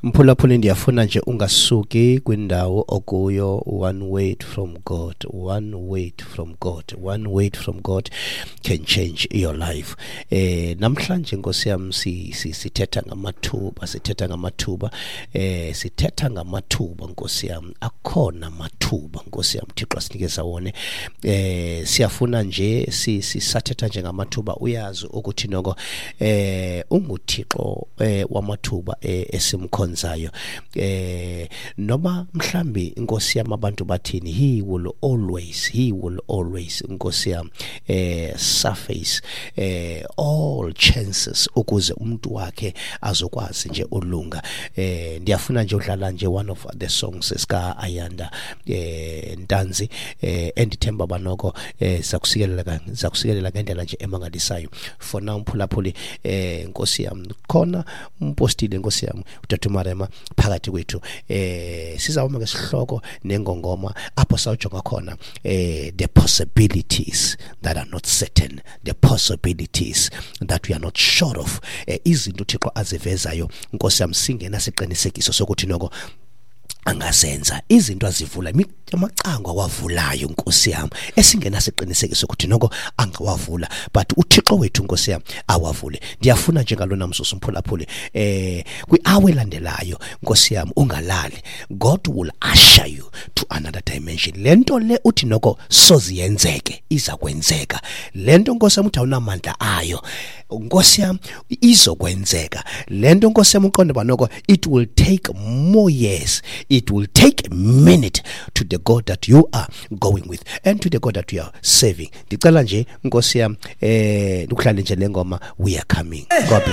Mphulaphuli, ndiyafuna nje ungasuki kwindawo okuyo. One word from God, one word from God, one word from God can change your life. Namhlanje, Nkosi yam, sithetha ngamathuba, sithetha ngamathuba, sithetha ngamathuba, Nkosi yam. Akhona amathuba, Nkosi yam, Thixo asinikeza wona. Siyafuna nje sisathetha nje ngamathuba, uyazi ukuthi noko unguThixo wamathuba esimkhonzayo. Noma mhlambi, Inkosi yam, abantu bathini, he will always, Nkosi yam, surface all chances ukuze umuntu wakhe azokwazi nje ulunga. Ndiyafuna nje udlala nje one of the songs sika Ayanda Ntanzi, endithemba banoko zakusikelela ngendlela nje emangalisayo. For now, mphulaphuli, Nkosi yam, khona umpostile, Nkosi yam, utata uMarema phakathi kwethu. Sizawuma ngesihloko nengongoma apho sawujonga khona the possibilities that are not certain, the possibilities that we are not sure of, izinto uThixo azivezayo, Nkosi yam, singena siqinisekiso sokuthi noko angazenza, izinto azivula, amacango awavulayo, Nkosi yam, esingenasiqinisekiso ukuthi noko angawavula, but uThixo wethu, Nkosi yam, awavule. Ndiyafuna njengalona mzuzu, mphulaphuli, kwi-hour elandelayo, Nkosi yam, ungalali. God will usher you to another dimension. Le nto le uthi noko soziyenzeke, iza kwenzeka. Le nto, Nkosi yam, uthi awunamandla ayo, Nkosi yam, izokwenzeka. Le nto, Nkosi yam, uqonde uba noko it will take more years, it will take a minute to the God that you are going with and to the God that you are serving. Ndicela nje, Nkosi yam, ndikuhlale nje le ngoma, "We Are Coming". God bless.